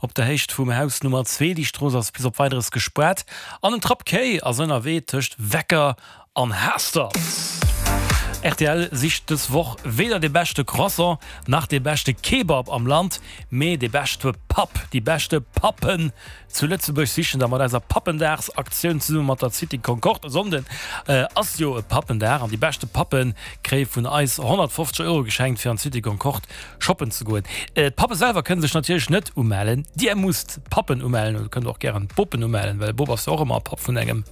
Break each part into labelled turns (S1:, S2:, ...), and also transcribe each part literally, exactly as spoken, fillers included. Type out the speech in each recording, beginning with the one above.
S1: Op der Héicht vum Haus Nummer zwee, déi Strooss ass bis op Weideres gespaart an en Trapp Kéi ass ënnerwee tëscht Wecker an Haastert. Rtl sicht dës Woch weder de beschte Croissant nach de beschte Kebab am Land, mee de beschte Papp, déi beschte Pappen zu Lëtzebuerg sichen der mat eiser Pappendagsaktioun zesumme mat der City Concorde. E Sonnden ass jo e Pappendag an déi beschte Pappe kréie vun eis honnertfofzeg Euro geschenkt fir an d'City Concorde shoppen ze goen. D'Pappe selwer kënne sech natierlech net umellen. Dir musst d'Pappen umellen oder kënnt och gären d'Bopen umellen, well e Bop ass jo och ëmmer e Papp vun engem,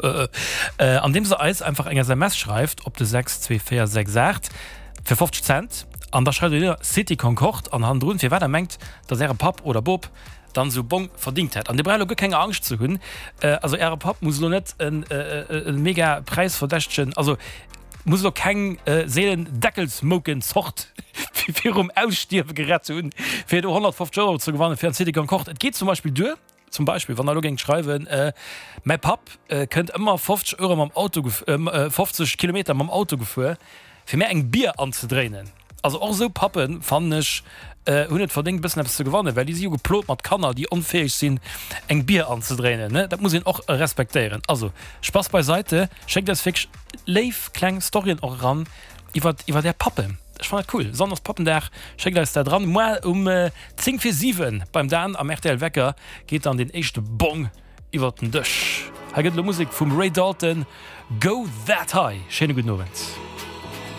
S1: andeems der eis einfach eng S M S schreift op de sechs zwee véier sechs aacht fir fofzeg Cent an da schreift der City Concorde an hannendrun firwat der mengt, dass äre Papp oder Bop dann esou Bong verdingt hätt. An dir braucht elo guer keng Angscht ze hunn, also äre Papp muss elo net e mega präisverdächtegen, also muss elo keng seelen Deckelsmouken-Zort virum Ausstierwe gerett hunn, fir do honnertfofzeg Euro ze gewannen fir an d'City Concorde. Et geet zum Beispill duer, zum Beispill wann der elo géingt schreiwen, mäi Papp kënnt ëmmer fofzeg Euro mam Auto, fofzeg Kilometer mam Auto gefuer, fir mär eng Bier anzedréinen. Also och esou Pappen, fannen ech, hunn et verdéngt e bëssen eppes ze gewannen, well déi si jo geplot mat Kanner, déi onfäeg sinn eng Bier anzedréinen, ne? Dat muss een och respektéieren. Also Spass beiseite, schéckt eis wierklech léif kleng Storyen och eran iwwer iwwer är Pappen. Ech fannen dat cool. Sonn ass Pappendag, schéckt eis dat eran. Moar um zéng vir siwen beim Dan am R T L Wecker geet dann deen éischte Bong iwwer den Dësch. Hei gëtt elo Musek vum Ray Dalton, Go That High. Schéine gudden Owend.